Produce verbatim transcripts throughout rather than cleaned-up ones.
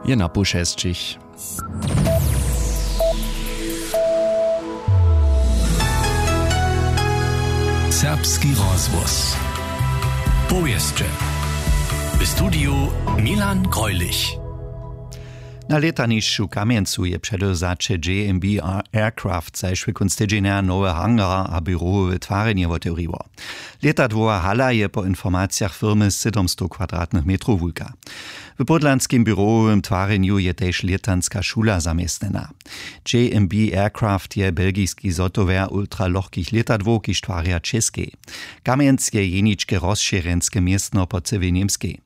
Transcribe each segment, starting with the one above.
Je na poł šesćich. Serbski rozhłos. Powěsće. W studiju Milan Greulich. Na lětanišću w Kamjencu je předewzaće J M B Aircraft zašły kónc tydźenja nowy hangar a běrowowe twarjenje wotewriło. Lětadłowa hala je po informacijach firmy sydomstow kwadratnych metrow wulka. W pódlanskim běrowym twarjenju je tež lětanska šula zaměstnjena. J M B Aircraft je belgiski zhotowjer ultralochkich lětadłow, kiž twarja Českej. Kamjenc je jeničke rozšěrjenske městno po cyłej Němskej.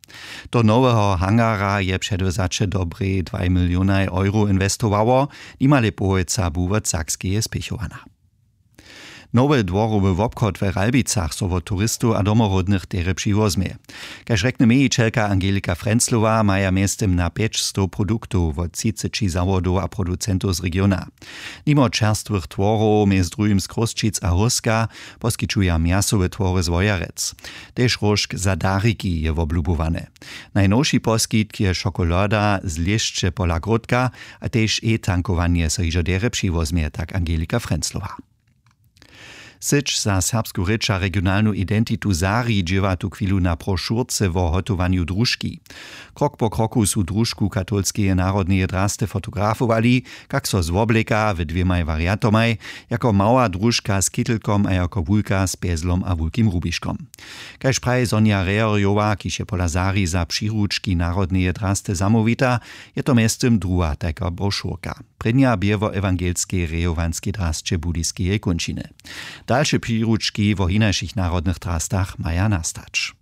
Do noweho hangara je předewzaće dobrej dwaj milionaj euro inwestowało, nimale połojca bu wot Sakskeje spěchowana. Nowy dworowy wobchod w Ralbicach so wot turistow a domoródnych derje přiwozmje. Kaž rjekny mějićelka Angelika Frenzlowa, maja mjeztym na pjećstow produktow wot třiceći zawodow a producentow z regiona. Nimo čerstwych tworow mjez druhim z Chrósćic a Hórska poskićuja mjasowe twory z Wojerec. Tež róžk za dariki je woblubowany. Najnowši poskitk je šokolada z lěšće pola Gródka a tež e-tankowanje so hižo derje přiwozmje, tak Angelika Frenzlowa. Syć za serbsku rěč a regionalnu identitu Zari dźěła tuchwilu na brošurce wo hotowanju družki. Krok po kroku su družku katolskeje narodneje drasty fotografowali, kak so zwobleka w dwěmaj wariantomaj, jako mała družka z kittelkom a jako wulka z pjezlom a wulkim rubiškom. Kaž praji Sonja Reherjowa, kiž je pola Zari za přiručki narodneje drasty zamołwita, je to mjeztym druha tajka brošurka. Prěnja bě wo ewangelskej rejowanskej drasće Budyskeje kónčiny. Dalše přiručki wo hinašich narodnych drastach maja nastać.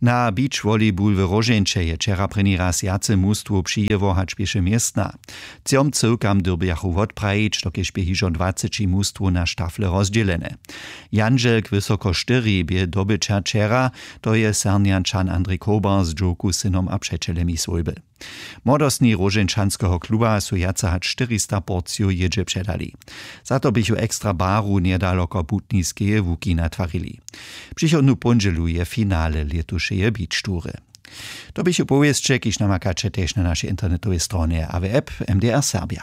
Na beach volleyball w Róžeńće je wčera prěni raz wjace mustwow přijěło hač běše městna. Třom cyłkam dyrbjachu wotprajić, dokelž bě hižo dwaceći mustwow na štafle rozdźělene. Jandźelk wysoko štyri bě dobyćer wčera, to je Sernjančan Andrej Kober z dźowku, synom a přećelemi swójby. Młodostni Róžeńčanskeho kluba su wjace hač štyrista porcijow jědźe předali. Za to běchu ekstra baru njedaloko Butniskeje łuki natwarili. Přichodnu póndźelu je finale lětušeje beach tury. To běchu powěsće, kiž namakaće tež na našej internetowej stronje a w app M D R Serbja.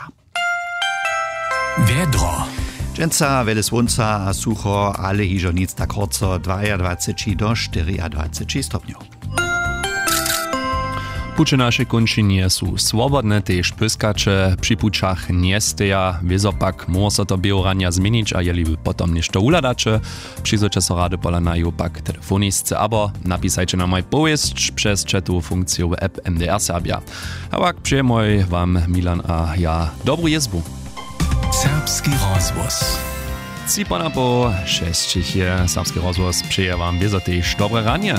Wjedro. Dźensa wjele słónca a sucho, ale hižo nic tak horco, dwajadwaceći do štyriadwaceći stopnjow. Puće w našej kónčinje su swobodne, tež pyskaće při pućach njesteja. Wězo pak móhło so to běhu ranja změnić, a jeli wy potom něšto wuhladaće, přizwójće so rady pola naju pak telefonisce abo napisajće nam aj powěsć přez chatowu funkciju w app M D R Serbja. A pak přejemoj wam Milan a ja dobru jězbu. Serbski rozhłos. Tři ponapoł šesćich je. Serbski rozhłos přeje wam wězo tež dobre ranje.